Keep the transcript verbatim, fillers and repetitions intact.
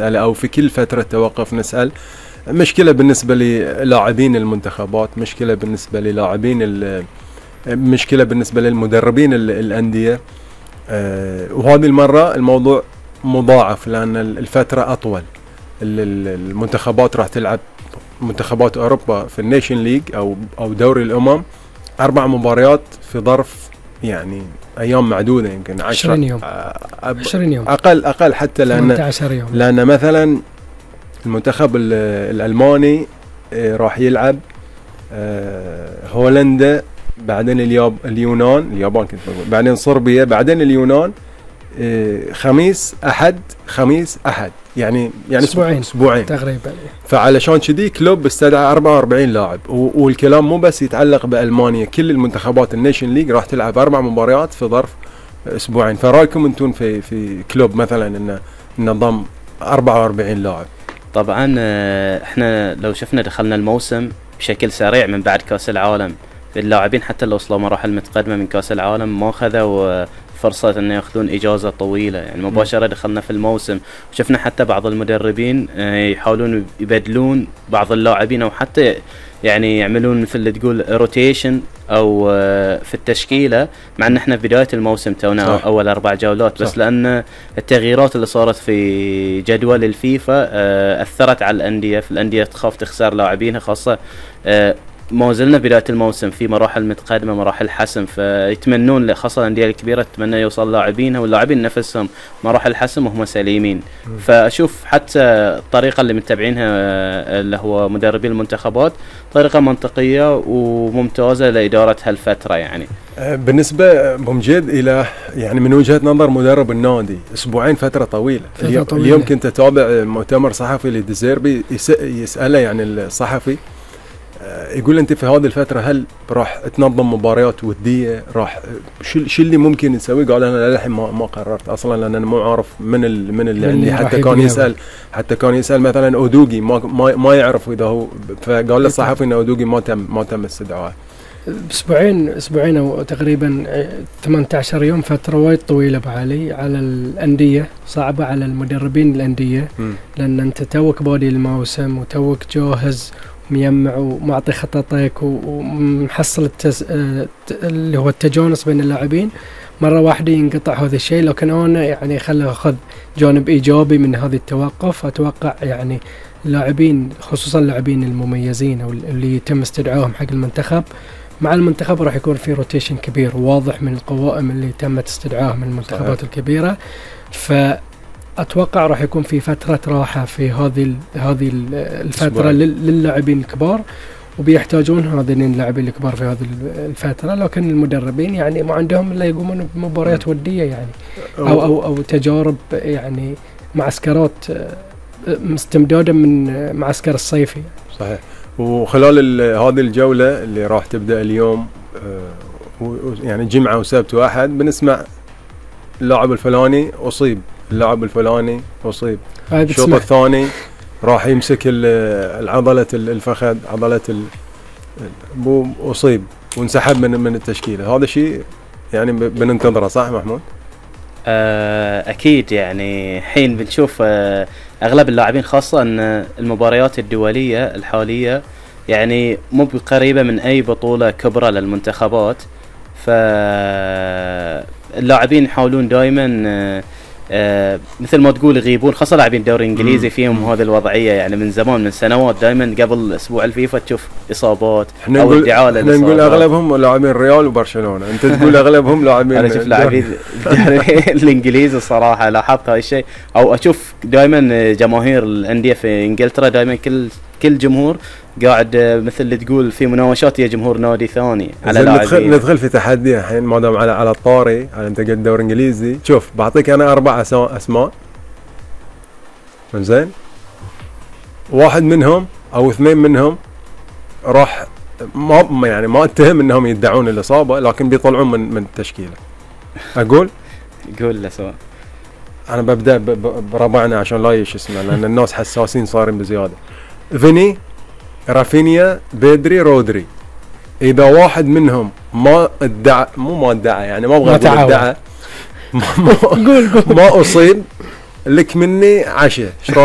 أو في كل فترة توقف نسأل. مشكلة بالنسبة للاعبين المنتخبات، مشكلة بالنسبة للاعبين، مشكلة بالنسبة للمدربين الأندية. أه وهذه المرة الموضوع مضاعف لأن الفترة أطول. المنتخبات راح تلعب منتخبات أوروبا في النيشن ليج أو أو دوري الأمم أربع مباريات في ظرف يعني أيام معدودة، يمكن عشرين يوم عشرين يوم أقل أقل حتى، لأن يوم. لأن مثلا المنتخب الألماني راح يلعب هولندا، بعدين الياب اليونان اليابان كنت بقول، بعدين صربيا، بعدين اليونان، خميس أحد خميس أحد يعني يعني أسبوعين أسبوعين تقريبا. فعلشان كذي كلوب استدعى أربعة وأربعين لاعب، والكلام مو بس يتعلق بألمانيا، كل المنتخبات النيشن ليج راح تلعب أربع مباريات في ظرف أسبوعين. فرايكم أنتم في في كلوب مثلا إنه نظام أربعة وأربعين لاعب؟ طبعا احنا لو شفنا دخلنا الموسم بشكل سريع من بعد كأس العالم، اللاعبين حتى لو وصلوا مراحل متقدمة من كأس العالم ما خذوا فرصة أن يأخذون إجازة طويلة، يعني مباشرة دخلنا في الموسم. وشفنا حتى بعض المدربين يحاولون يبدلون بعض اللاعبين أو حتى يعني يعملون مثل تقول روتيشن أو في التشكيلة، مع أن احنا في بداية الموسم تونا أول أربع جولات بس، صح. لأن التغييرات اللي صارت في جدول الفيفا أثرت على الأندية، في الأندية تخاف تخسر لاعبينها، خاصة ما زلنا بداية الموسم في مراحل متقدمة، مراحل حسم، فيتمنون خاصة الأندية الكبيرة تتمنى يوصل لاعبينها واللاعبين نفسهم مراحل حسم وهم سليمين. فأشوف حتى الطريقة اللي متبعينها اللي هو مدربين المنتخبات طريقة منطقية وممتازة لإدارة هالفترة. يعني بالنسبة بمجد إلى يعني من وجهة نظر مدرب النادي، أسبوعين فترة طويلة. فترة طويلة. اليوم كنت أتابع مؤتمر صحفي لديزيربي يسأله يعني الصحفي، يقول أنت في هذه الفترة هل راح تنظم مباريات ودية؟ راح شو شو اللي ممكن نسويه؟ قال أنا للحين ما ما قررت أصلا، لأن أنا مو عارف من ال من اللي عندي. حتى كان يسأل حتى كان يسأل مثلا أودوغي ما ما ما يعرف إذا هو، فقال للصحفي إن أودوغي ما تم ما تم استدعائه. أسبوعين أسبوعين أو تقريبا ثمانية عشر يوم، فترة وايد طويلة بعلي على الأندية، صعبة على المدربين الأندية، م. لأن أنت توك بادي الموسم وتوك جاهز ميمع ومعطي خططك ومحصل التز... اللي هو التجانس بين اللاعبين، مرة واحدة ينقطع هذا الشيء. لكن أنا يعني خلي أخذ جانب إيجابي من هذه التوقف. أتوقع يعني اللاعبين خصوصا اللاعبين المميزين أو اللي يتم استدعائهم حق المنتخب، مع المنتخب راح يكون في روتيشن كبير واضح من القوائم اللي تم استدعائهم من المنتخبات الكبيرة. ف أتوقع راح يكون في فترة راحة في هذه هذه الفترة للاعبين الكبار، وبيحتاجون هذين اللاعبين الكبار في هذه الفترة. لكن المدربين يعني ما عندهم إلا يقومون بمباريات ودية يعني أو أو أو تجارب يعني معسكرات مستمدادة من معسكر الصيفي. صحيح. وخلال هذه الجولة اللي راح تبدأ اليوم يعني جمعة وسبت وأحد بنسمع اللاعب الفلاني أصيب، اللاعب الفلاني أصيب، الشوط الثاني راح يمسك العضلة الفخذ، عضلة بو أصيب وانسحب من من التشكيلة. هذا شيء يعني بننتظره، صح محمود؟ أكيد. يعني حين بنشوف أغلب اللاعبين خاصة أن المباريات الدولية الحالية يعني مو قريبة من أي بطولة كبرى للمنتخبات، فاللاعبين يحاولون دائما آه مثل ما تقول يغيبون، خاصة لاعبين الدوري الانجليزي فيهم هذه الوضعية يعني من زمان من سنوات. دائما قبل اسبوع الفيفا تشوف اصابات او ادعاء للاصابات. احنا نقول اغلبهم لاعبين ريال وبرشلونة، انت تقول اغلبهم لاعبين. انا اشوف لاعبين الانجليزي الصراحة لاحظت هاي الشيء، او اشوف دائما جماهير الاندية في انجلترا دائما كل كل جمهور قاعد مثل اللي تقول في مناوشات يا جمهور نادي ثاني على لاعبين. ندخل ندخل في تحدي الحين ما دام على على الطاري، على انت قد دوري انجليزي. شوف بعطيك انا اربع اسماء زين، واحد منهم او اثنين منهم راح ما يعني ما اتهم انهم يدعون الاصابه، لكن بيطلعون من من التشكيله. اقول قول له سواء. انا ببدا بربعنا عشان لا يش اسمه، لان الناس حساسين صارين بزياده. فيني، رافينيا، بيدري، رودري. اذا واحد منهم ما ادعى، مو ما ادعى يعني ما ابغى اقول ادعى، ما, ما, ما اصيب لك مني عشاء، ايش رايك؟